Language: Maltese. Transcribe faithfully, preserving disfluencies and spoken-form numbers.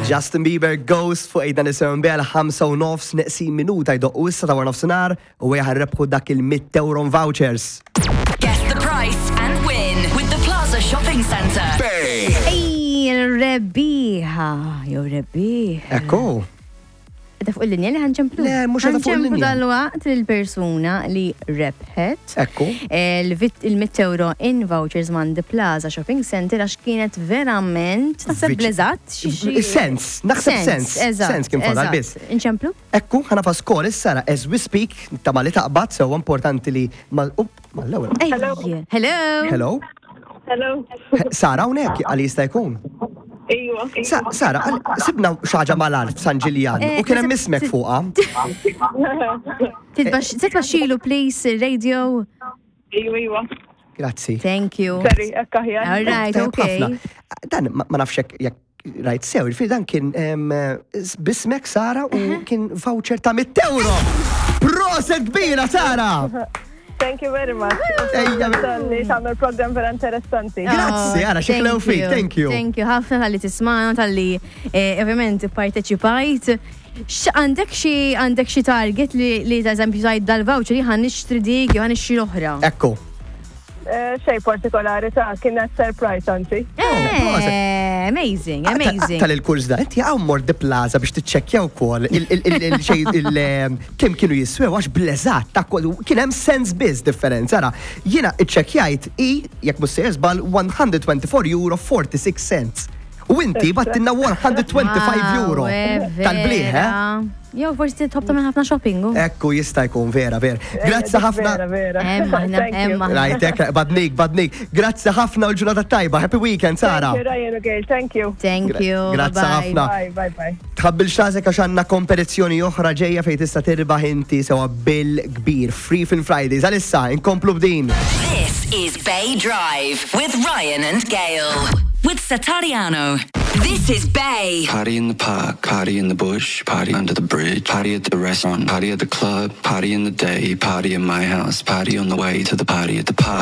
Justin Bieber Ghost fuq eight ninety-seven Bay, ħamsa u nofs neqsin minuta jdoqqu issa ta' wara nofsinhar u ħa nrebbħu dak il-mitt euro vouchers. Guess the price and win with the Plaza Shopping Centre. Bay. Ej, rebbieħa, jew rebbieħ. Ekku. Qiegħda fuq il-linja li ħa nċemplu? Le, mhux qiegħda fuq Ħa nċemplu il-linja. Dal-waqt il-persuna li rebħet. Ekku. Il-mitt euro in vouchers minn The Plaza Shopping Center għax kienet verament, naħseb Viċ- blezat. Sens, naħseb sens. Eżatt, Sens kien fadal eżatt. biss. Inċemplu? Ekku, ħa nagħfas call issa, as we speak, ta' li taqbad, so importanti li mal, up, mal-ewwel. Ej, hello. Hello? Hello. Sara hawnhekk għal jista' jkun. Iwa. Sa- Sara, għal- sibna xi ħaġa mal-art San Ġiljan Eh, u kien hemm naħseb- ismek fuqha. Titbaxxilu please radio. Iwa, iwa. Grazzi. Thank you. Sorry, ekk aħjar. All right, Tajjeb okay. ħafna. Dan ma ma nafx jekk jekk rajt sew, il dan kien em, bismek Sara u kien voucher ta' mitt euro. Proset kbira, Sara! Thank you very much. Ejja, Talli tagħmel program vera interessanti. Grazzi, ara, xi Oh, thank ħlew fik, you. thank you. Thank you, ħafna talli tismagħna, talli eh, ovvjament parteċipajt. Għandek xi għandek xi target li li ta' eżempju tajt dal-voucher li ħa nixtri dik jew ħa nixtri l-oħra? Ekku. Eh, xej partikolari ta' kienet surprise anzi. Proset. Eh, amazing, amazing. Tal il-kurs da, inti għaw mort The Plaza biex tiċċekkja wkoll il-xej kemm kienu jiswew għax bleżat ta' kol- kien hemm sens biss differenza. Ara, jiena iċċekkjajt i jekk mhux sejjer żball one hundred twenty-four euro forty-six cents. U inti bgħattilna one hundred twenty-five euro Wow, eh, tal-bliħ, eh? vera. Jew forsi tħobb tagħmel ħafna shopping. u. Ekku, jista' jkun vera, vera. Grazzi ħafna. Vera, vera. Emma, aħna, Thank you. emma. Right, ek, badnik, badnik. Grazzi ħafna u l-ġurnata tajba. Happy weekend, Sara. Thank you, Ryan u Gail. Thank you. Thank you. Grazzi Bye-bye. ħafna. Bye, bye, bye. Tħabbil xasek għax għandna kompetizzjoni oħra ġejja fejn tista' tirbaħ inti sewa bill kbir. Free Film Fridays. Għalissa, inkomplu b'din. This is Bay Drive with Ryan and Gail. With Satariano. This is Bay. Party in the park, party in the bush, party under the bridge, party at the restaurant, party at the club, party in the day, party in my house, party on the way to the party at the park.